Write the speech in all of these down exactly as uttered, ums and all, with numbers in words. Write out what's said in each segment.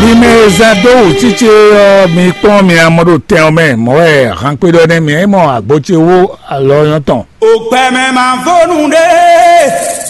Limɛza dó wǔ cícé ɔ́, mi kpɔ́n mi amɔ ɖo tɛn ɔ́ mɛ, mɔ̌ wɛ hankwé ɖɔ nɛ́ mi é mɔ agbo ce wó alɔ nyɔ́ tɔn. Ògbɛmɛ máa fó nú ɖé,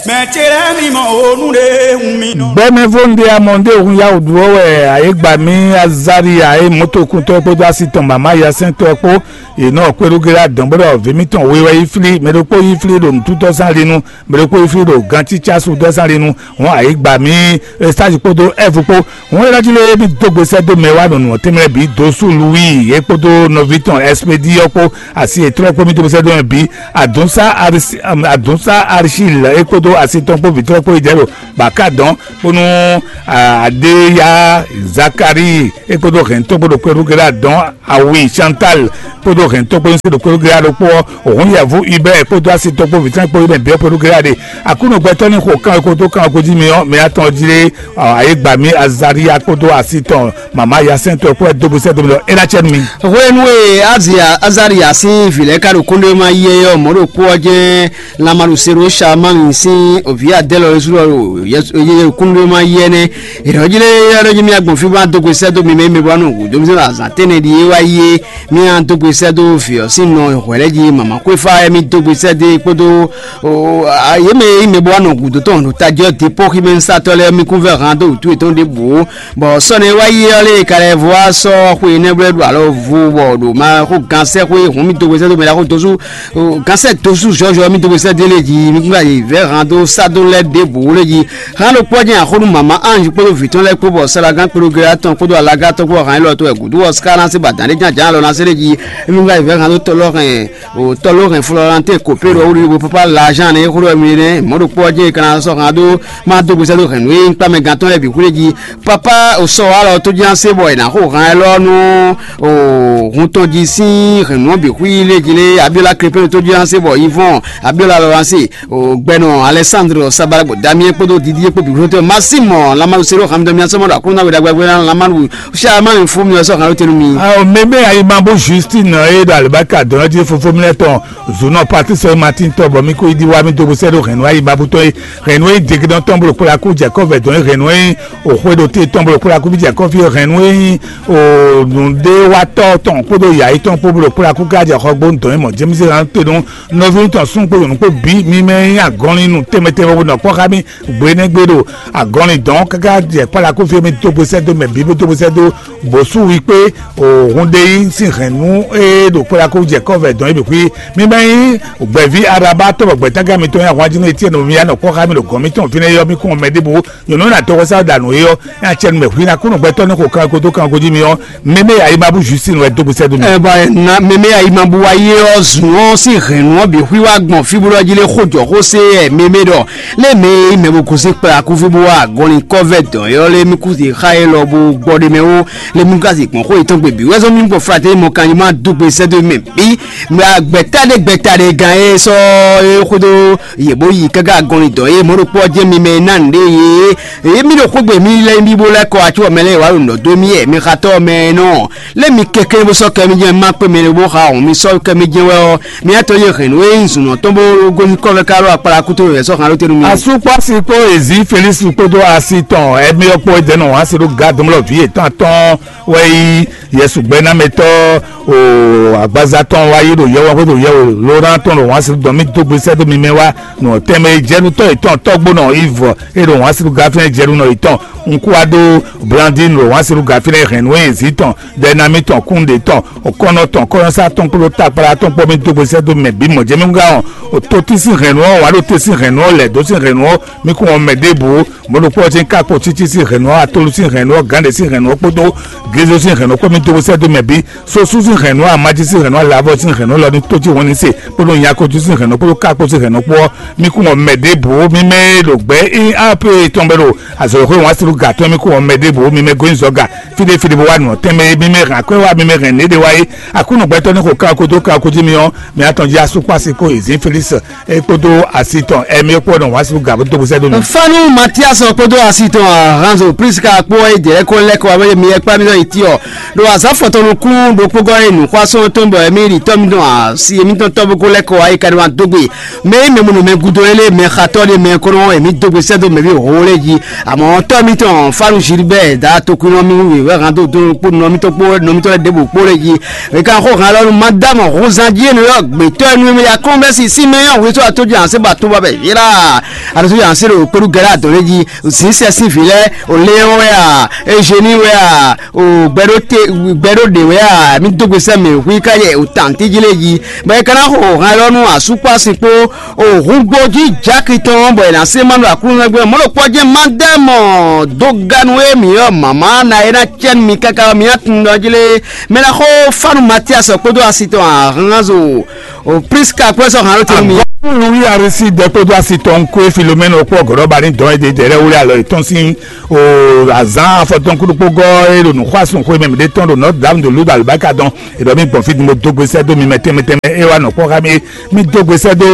mɛ ce lɛ́ɛ mi mɔ ó nú ɖé hun mi nɔ. Gbɛmɛ fó nú ɖé amɔ ɖé hun yá wǔ ɖu ɔ́ wɛ ayégbà mì Azaria e mɔ̌tokúntɔ́ kpódó asi tɔn mama yasɛntɔ́ kpó yě nɔ kpéɖógé ɖo adɔ̌n bó ɖɔ vǐ mǐtɔn we wɛ yi flí, mɛ ɖokpó yi flí ɖo nǔtútɔ́ zán linu, mɛ ɖokpó yi flí ɖo gancícásu dɔ́ zán linu, hɔn ayǐ gba mì Estázi kpódó Ɛvu kpó. Hɔn é ná jí lé mì dó gbe sɛ́ dó mɛ wá nɔnɔ tɛnmɛ bǐ dó sú Luwíi é kpódó nɔví tɔn Ɛspedíɔ kpó asi yětɔn kpó mì dó gbe sɛ́ dó mɛ bǐ. Adǔnsá Arisi- Adǔnsá Arisíl é kpódó asi tɔn kpó vǐtɔ́ kpó yi jɛ ɖo bǎka dɔn kpónú Adéya Zakalíi é kpódó hɛ̌ntɔ́ kpó ɖo kpɛɖú Gɛlá dɔn awi Chantal kpódó hɛ̌ntɔ́ kpó nyí se ɖo kpɛɖú Gɛlá ɖokpó ɔ́, òhun yɛ̌vu Ibɛ́ɛ kpódó asi tɔn kpó vǐtɔ́ kpó yi mɛ bǐ kpɛɖú Gɛlá ɖe. Aklúnɔ gbɛtɔ́ ní xo kán e kó dó kán e kó jí mi ɔ́, mi atɔn jí lé ayégbami Azaria kpódó asi tɔn mama yasɛntɔ́ kpó wɛ dó gbe sɛ́ dó mi ɖɔ é ná cɛ nú mi. Hwenu e Azia Azaria sín vǐ lɛ́ɛ ka ɖo kúnɖéwéma yí ɛ ɔ́, mɔ̌ ɖokpó ɔ́ jɛ́n Lamalusero Shalmami sín vǐ Adɛ́lɔ Ezulɔ ɖo kúnɖéwéma yí ɛ nɛ́. È nɔ́ jlé ɔ́ ɖɔ jí mì agbɔn fí bó ná dó gbe sɛ́ dó mi mɛ e mɛ bó ná nɔ gǔdo mi zɔn azǎn tɛ́nnɛ ɖíe wá yi é, mì ná dó gbe sɛ́ dó vǐ ɔ́ sín nɔ hwɛ̌ lɛ́ɛ jí mama xwéfá wɛ mì dó gbe sɛ́ dó e kpódó yě mɛ e nyí mɛ bó wá nɔ gǔdo tɔn ɖo tají ɔ́ dipɔ́ximɛsatɔ́ lɛ́ɛ mì kún vɛ́ han dó wǔtu yětɔn ɖěbǔ. Bɔ sɔ́ nɛ́ wá yi ɔ́ lé ka lɛ́ vɔ wá sɔ́ xwe énɛ́ bó lɛ́ ɖo alɔ vo bɔ ɖo ma xó gan sɛ́ xwé hǔn mì dó gbe sɛ́ dó mɛ ɖaxó dozú gan sɛ́ dozú zɔ́zɔ́ mì dó gbe sɛ́ dó lé jí mì kún yi vɛ́ han dó sá dó lɛ́ ɖěbǔ lé jí. Han ɖokpó ɔ́ jɛ́n axɔ́nú mama Ange kpódó vǐ tɔn lɛ́ɛ kpó bɔ salagan kpódó gléla tɔn kpódó alaga tɔn kpó han élɔ́ tɔn wɛ gǔdo ɔ́ ká ná sí ba dǎn ɖé ján jǎn alɔ ná sí lé jí. Mì kún yi vɛ́ han dó tɔlɔ́ hɛn o tɔlɔ́ hɛn Florentine Copéro wúlúwúlú papa lajan ne xó ɖɔ mi nɛ́ mɔ̌ ɖokpó ɔ́ jɛ́n è ka ná sɔ́ han dó má dó gbe sɛ́ dó hɛn nǔ e nyí kpámɛ gantɔ́ lɛ́ɛ bǐ xwlé jí. Papa o sɔ wa lɔ tó jí ná se bɔ è nǎ xo han élɔ́ nú o hun tɔn jí sín hɛ̌nnu ɔ́ bǐ xwí lé jí lé Abiola Krépénu tó jí ná se bɔ Yvon Abiola lɔ ná se o gbɛnɔ Alexandre Sabalagbo Damien kpódó Didier kpó bǐ xwlé tó ma sí mɔ lamanu se ɖó han mi dɔ mi asɔmɔ ɖo aklúnɔ we ɖagbe ná lamanu Xá má mi fún mi ɔ́ sɔ́ hǎn ló tɛnu mi. Ao mɛmɛ ayimabú Justine e ɖo alibaka dɔn ɔ́ jí fofó mi lɛ́ tɔn zǔnɔ Patrice Martin tɔn bɔ mi kó yi ɖi wá mi dó bó sɛ́ ɖó hɛ̌nnu ayimabú tɔn e hɛ̌nnu e degedɔn tɔn bolo kpó la kú Jakɔ́b vɛ dɔn e hɛ̌nnu e òxwe ɖo te tɔn bolo kpó la kú bí Jakɔ́b fi hɛ̌nnu e nyí o nǔɖéwatɔ́ tɔn kpódó yǎyi tɔn kpó bolo kpó la kú ká jɛ xɔgbó dɔn e mɔ James hǎn te nú nɔví tɔn sún kpó nyɔ̌nu kpó bǐ mi mɛ e nyí agɔnlinu tɛnmɛ tɛnmɛ bó nɔ kpɔ́ xá mi gbe nɛ́ gbe ɖo agɔnlin dɔn káká jɛ kpála kó fí mi dó gbe sɛ́ dó mɛ bǐ bó dó gbe sɛ́ dó bǒsú wi kpé òhun ɖe yí sín hɛ̌nnu e ɖo kpála kó jɛ kɔ́vɛ dɔn é bǐ xwí. Mi ma nyí gbɛ̌ví Araba tɔ́ bɔ gbɛ̌tágán mitɔn nyí ahwan jí nú Etyɛ́nu mi ya nɔ kpɔ́ xá mi ɖo gɔ̌n mitɔn fínɛ́ é ɔ́, mi kún mɛ ɖěbǔ nyɔ̌nu ná dɔgɔsá danu é ɔ́, é ná cɛ nú mɛ hwí ná kún nɔ gbɛtɔ́ ní xo kanko dó kanko jí mi ɔ́, mɛmɛ ayimabú Justine wɛ dó gbe sɛ́ dó mi. Ɛ bɔ na mɛmɛ ayimabú wa yé ɔ́ zun ɔ́ sín hɛ̌nnu ɔ́ bǐ xwí wá gbɔn fí bó ɖɔ jí lé xó jɔ xó sé ɛ mɛmɛ ɖɔ lé mɛ e mɛ bo gosín kplá kúfí bó wá agɔnlin kɔ́vɛ́ dɔ̌n é ɔ́ lé mí kú zǐ xá é lɔ bó gbɔ ɖ'é mɛ ó lé mí ka zǐ gbɔn xó yětɔn gbe bǐ wɛ́zɔ́ mí gbɔ flatɛ́ mɔ kanjí má dó gbe sɛ́ dó mɛ bǐ mɛ gbɛ̀tá ɖé gbɛ̀tá ɖé gán é sɔ́ é xódó yě bó yi káká agɔnlin dɔ̌n é mɔ̌ ɖokpó ɔ́ jẹ́ mi mɛ e ná nǔɖé yě é mí ɖo xógbe mí lɛ́ mí bó lɛ́ kɔ acú ɔ́ mɛ lɛ́ɛ wǎ ɖo nǔ dó mì yɛ mi xatɔ́ mɛ nɔ lé mi kɛkɛ́ bó sɔ́ kɛ mi jɛ́n má kpé mɛ bó xa hɔn mi sɔ́ kɛ mi jɛ́n wɛ ɔ́ mi atɔ́ yé hɛn nǔ e nyí zǔnɔ tɔn bó gosín kɔ́vɛ ká ɖo akpala kútó wɛ sɔ́ xan ló tɛnu mi. Asúkpɔ́sí kpó èzí Felísi kpódó asi tɔn ɛmí ɔ́ kpó é dɛ́ nɔ wǎn se ɖó Gad mlɔ́ vǐ yětɔn atɔ́ɔ́n wɛ yí Yɛsu gbɛ́námɛtɔ́ o agbaza tɔn wá yí ɖo yɛwɔ xwé ɖo yɛwɔ ló ná tɔn ɖo wǎn se ɖó dɔn mí dó gbe sɛ́ dó mi mɛ wá nɔ tɛnmɛ e jɛ nú tɔ́ yětɔn tɔ́gbónɔ Ivɔ e ɖo wǎn se ɖó Gafɛn jɛ nú nɔ yětɔn. Un kú wá ɖó Blandin ɖo wǎn se ɖó Gafɛn hɛn nǔ e zǐ tɔn Dɛnami tɔn kúnɖe tɔn òkɔ́nɔ tɔn kɔ́nyɔ́sá tɔn kpódó takpala tɔn kpó mì dó gbe sɛ́ dó mɛ bǐ mɔ̌ jɛ mì gán ɔ́, òtó tí sín hɛ̌nnu ɔ́ wǎ ɖo te sín hɛ̌nnu ɔ́ lɛ̌ dó sín hɛ̌nnu ɔ́ mì kún ɔ́ mɛ ɖěbǔ. Mɔ̌ ɖokpó ɔ́ jɛ́n ká kpo cící sín hɛ̌nnu ɔ́, atolu sín hɛ̌nnu ɔ́, gǎnɖě sín hɛ̌nnu ɔ́ kpódó glezo sín hɛ̌nnu ɔ́ kpó mì dó gbe sɛ́ dó mɛ bǐ. Sosú sín hɛ̌nnu ɔ́, amají sín hɛ̌nnu ɔ́, alavɔ sín hɛ̌nnu ɔ́ lɔ ní tó cí hɔn ní se kpódó nyakojú sín hɛ̌nnu ɔ́ kpódó ká kpo sín hɛ̌nnu ɔ́ kpó ɔ́, mì kún ɔ́ mɛ ɖěbǔ. Mì mɛ e ɖo gbɛ̌ í á pé tɔn bɛ ɖo azɔ̌xwé wǎn sín gǎ tɔn mì kún ɔ́ mɛ ɖěbǔ. Mì mɛ gosín zɔ̌ ga fíɖéfíɖé bó wá nǔ ɔ́ tɛnmɛ é. Mì mɛ hɛn akwɛ́ wá, mì mɛ hɛn nǔɖé wá é. Aklúnɔ gbɛtɔ́ ní xo kanko dó kanko jí mi ɔ́, mi atɔn jí asúkpási kó èzín Felísi é kpódó asi tɔn ɛmí é kpó nɔ wá sú gǎ bó dó bó sɛ́ dó mi. Fanu Matias Sɔ kpódó asi tɔn Ahanzo Priska kpó wá yi dɛ̌ kó lɛ́ kɔ wá bɛ mi yɛ kpá mi nɔ yi ti ɔ ɖo azǎn fɔtɔn nukún ɖokpó gɔ́ e nǔxwásɔ́n tɔn bɔ émí ɖi tɔ́ mitɔn asi émítɔn tɔ́ bó kó lɛ́ kɔ wá yi ka ɖo wá dó gbe mɛ yi mɛ mɔnɔ mɛ gúdo é lé mɛ xatɔ́ ɖé mɛ kó nɔ émí dó gbe sɛ́ dó mɛ ví hǒ lé jí. Amɔ̌ tɔ́ mitɔn Fánu Gilbert da tokwínɔ mi wú wěwé hán dó dó kpó nɔ mitɔn kpó nɔ mitɔn lɛ́ ɖěbǔ kpó lé jí. Mɛ ka xó hán lɔ nú Madame Rosandier nú yɔ gbětɔ́ nú mɛ ya kɔn bɛ́ si sí mɛ yɔ wětó atójú ànsé ba tó ba bɛ yílá. Aɖosójú ànsé ɖo kpéɖú gɛlɛ adɔn lé jí. Zinsɛ sín vǐ lɛ́ɛ o Léon wɛ a, Eugénie wɛ a, o gbɛɖó te gbɛɖó ɖe wɛ a, mi dó gbe sɛ mɛ hu ka yɛ o tantí jí lé jí. Bɔ e ka ná xo hàn lɔ nú asúkpásin kpó o húngbó jí jáki tɔn bɔ è nǎ sé ma ɖo aklúnɔgbé mɔ̌ ɖo kpɔ́ jɛ́n ma dɛ mɔ dó ganu e mǐ ɔ́ mama na é ná cɛ́ nú mi káká mi ná tun ɖɔ jí lé. Mɛ ná xó fánu Matias kpódó asi tɔn ahanzo o Priska kpó sɔ hàn ló tenu mi. Agɔ́kú Louis Arisi dɛ kpódó asi tɔn kó Filomɛnu kpó gɔ̌ɖɔ́ba ní dɔn é dé dɛ̌ lɛ́ wlé alɔ yětɔn sín o azǎn afɔtɔn kúɖokpó gɔ́ é ɖo nǔxwásún xwé mɛ mǐɖé tɔn ɖo Notre Dame de Lourdes alubáka dɔn. È ɖɔ mì gbɔn fí din bó dó gbe sɛ́ dó mi mɛ tɛnmɛ tɛnmɛ é wá nɔ kpɔ́ xá mì. Mì dó gbe sɛ́ dó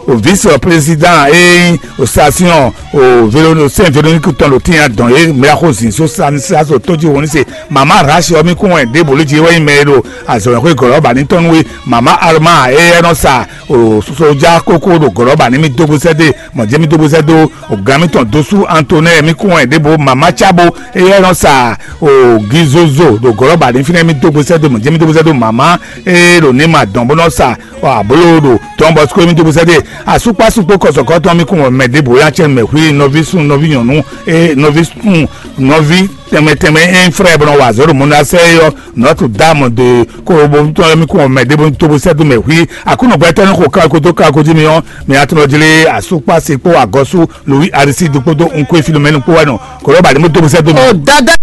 o vice président é nyí o station o Véro- Saint Véronique tɔn ɖo tínya dɔn é mɛ axó zǐn só Stanislas o tójí wǒ ní se mama Rachel ɔ́ mì kún wɛ ɖěbǔ lé jí é wɛ nyí mɛ e ɖo azɔ̌mɛxwé gɔ̌lɔ́ba ní tɔn nú we mama Alma é nɔ sa o sodza kókó ɖo gɔ̌lɔ́ba ní mì dó gbe sɛ́ dó mɔ̌ jɛ́n mì dó gbe sɛ́ dó o gǎn mì tɔn dósú Antonin mì kún wɛ ɖěbǔ mama Cábo é nɔ sa o gizozo ɖo gɔ̌lɔ́ba ní fínɛ́ mì dó gbe sɛ́ dó mɔ̌ jɛ́n mì dó gbe sɛ́ dó mama é ɖo ní ma dɔn bó nɔ sa abló ɖo Don Bosco mi dóbosɛ́ ɖe asúkpásúkpó kɔsɔkɔtɔn mi kún mɛ ɖěbǔ yá cɛ mɛ hui nɔví sun nɔví nyɔ̌nu e nɔví sun nɔví tɛnmɛ tɛnmɛ e nyí frɛ bɔ nɔ wa azɔ̌ ɖo mɔnasɛ yɔ Notre Dame de kóbótɔn mi kún mɛ ɖěbǔ dóbosɛ́ dó mɛ hui akúnɔgbɛtɔ́ ní xo káko dó káko jí mi ɔ́ mi atúnɔ jlé asúkpásúkpó agɔ́sú Louis Aristide kpódó Nkoé Filomɛnu kpó wɛ nɔ kɔlɔ́ba ɖě mɔ dóbosɛ́ dó mi. Ɔ dada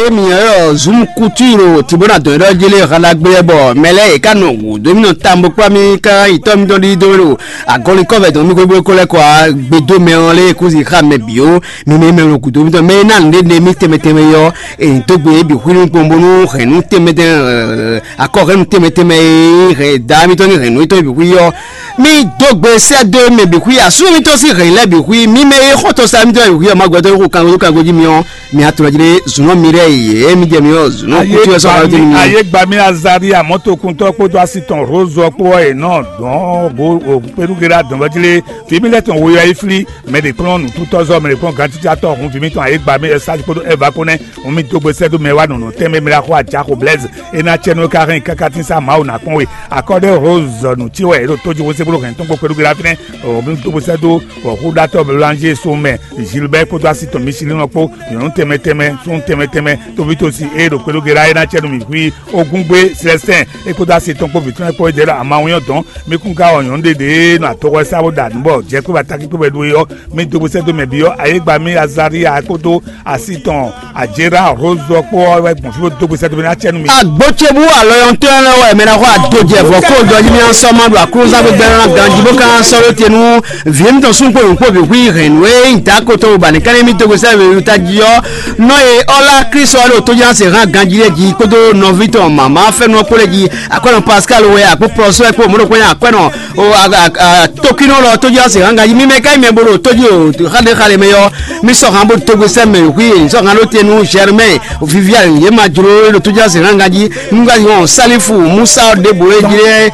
emi yɔ zum kutu ro tibona dɔn ɖɔ jele xalagbé bɔ mɛlɛ e ka nɔ wu domi nɔ tambo kpla mi ka itɔ mi dɔn ɖi do ro agɔli kɔvɛ dɔn mi gbogbo ko lɛ kɔ agbedo mɛ ɔ lɛ kusi xa mɛ bio mi mɛ mɛ ro kudo mi dɔn mɛ na nde ne mi tɛmɛ tɛmɛ yɔ e do gbe bi hu ni gbɔn bonu hɛn nu tɛmɛ tɛmɛ akɔ hɛn nu tɛmɛ tɛmɛ e hɛn da mi tɔ ni hɛn nu tɔ bi hu yɔ mi do gbe sɛ do mɛ bi hu asu mi tɔ si hɛn lɛ bi hu mi mɛ e xɔtɔ sa mi tɔ bi hu yɔ ma gbɛtɔ ko kan ko kan ko ji mi ɔ mi atɔ jire zunɔ mi rɛ ye mi jɛ mi ɔ zunɔ kutu yɛ sɔ ka tɛ mi. Ayé gba mi Azari amɔtokuntɔ kpódó asi tɔn Rose kpó ɔ yě nɔ dɔn go o kpéɖugéɖa dɔn bɔ jile fi mi lɛ tɔn woyɔ yi fli mɛ ɖe kplɔn nututɔzɔ mɛ ɖe kplɔn gantitsatɔ hun fi mi tɔn ayé gba mi ɛsali kpódó ɛva kpó nɛ hun mi dó gbe sɛdó mɛ wa nɔnɔ tɛnmɛ mɛ la xɔ ajaxo Blaise e na cɛ nú ka hɛn kaka tín sa Mawu na kpɔn we akɔdɛ Rose nutí wɛ e ɖo tójú wo se bolo hɛn tɔn kpó kpéɖugéɖa fínɛ o mi dó gbe sɛdó Bɔ xúɖatɔ́ Blanzé Somɛ Gilbert kpódó asi tɔn Michelin kpó nyɔ̌nu tɛnmɛ tɛnmɛ súnnu tɛnmɛ tɛnmɛ tóvítósi e ɖo kpéɖógé ɖá é ná cɛ nú mǐ xwí Ogúngbé Célestin é kpódó asi tɔn kpó vǐ tɔn lɛ́ɛ kpó é ɖě ɖo amawun ɔ́ dɔn. Mí kún ka wɔ nyɔ̌nu ɖé ɖě e nɔ adɔxɔ sa bó ɖa nǔ bɔ jɛ kpé ba takín kpé wɛ ɖó é ɔ́, mí dó bó sɛ́ dó mɛ bǐ ɔ́, ayégbamí Azaria kpódó asi tɔn Ajera Rozo kpó ɔ́ wɛ gbɔn fí bó dó gbe sɛ́ dó ná cɛ nú mi. Agbo ce bú alɔyɔntɔ́ lɛ́ɛ wɛ mɛ ná xɔ adojɛvɔ kó dɔjí mì sɔ́ ma ɖo aklúnɔzán gbígbɛ́ ná ganjí bó ka ná sɔ́ ɖó te nú vǐ émítɔn súnxó nyǐkpó bǐ hu hɛ̌nnu e nyí dǎkotɔn ba ní ká ní mì dó gbe sɛ́ wěwúta jí ɔ́. Nɔ e ɔ́ lá Klísu ɔ́ ɖo tójánse hán ganjí lɛ́ɛ jí kpódó nɔví tɔn mǎmá fɛ́nú ɔ́ kpó lɛ́ɛ jí. Akwɛ́nɔ Pascal wɛ akpó Prɔsɔ́ kpó mɔ̌ ɖokpó nyí akwɛ́nɔ o a- a- a- tókínɔ lɔ tójánse hán ganjí. Mi mɛ ká nyí mɛ bó ɖo tójí o xáɖéxáɖé mɛ ɔ́, mi sɔ́ hán bó dó gbe sɛ́ mɛ hu e sɔ́ hán ɖó te nú Germain Viviane yě ma jló e ɖo tójánse hán ganjí. Nungaji hɔn Salifu Musa ɖěbǔ e jí lɛ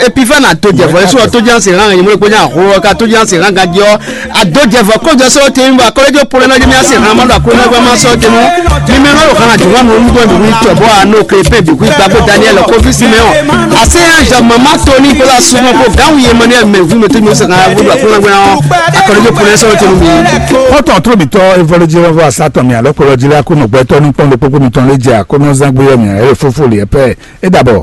Epifana to jɛ vɔ Yesu to jɛ se hàn yìí mo ko nya ho ka to jɛ se hàn ka jɔ a do jɛ vɔ ko jɔ so te mi ba ko jo pole na jɛ mi ase hàn ma do ko na ba ma so te mo mi me no hàn ju ma mo mu do mi wi to bo a no ke pe bi wi gba ko Daniel ko fi si me o ase ya ja mama to ni ko la su mo ko ga wi Emmanuel me wi me to mi se hàn bo do ko na gbe na a ko jo pole so te mo mi. Kɔtɔn tóbitɔ evolojilɔvɔ asatɔn mi alɔ kplɔjila ko nɔgbɛtɔ nukpɔn ɖokpokpo mitɔn lé jɛ akɔnɔzangbe yɔ mi ayɛ fofo liɛ pɛ. E dabɔ.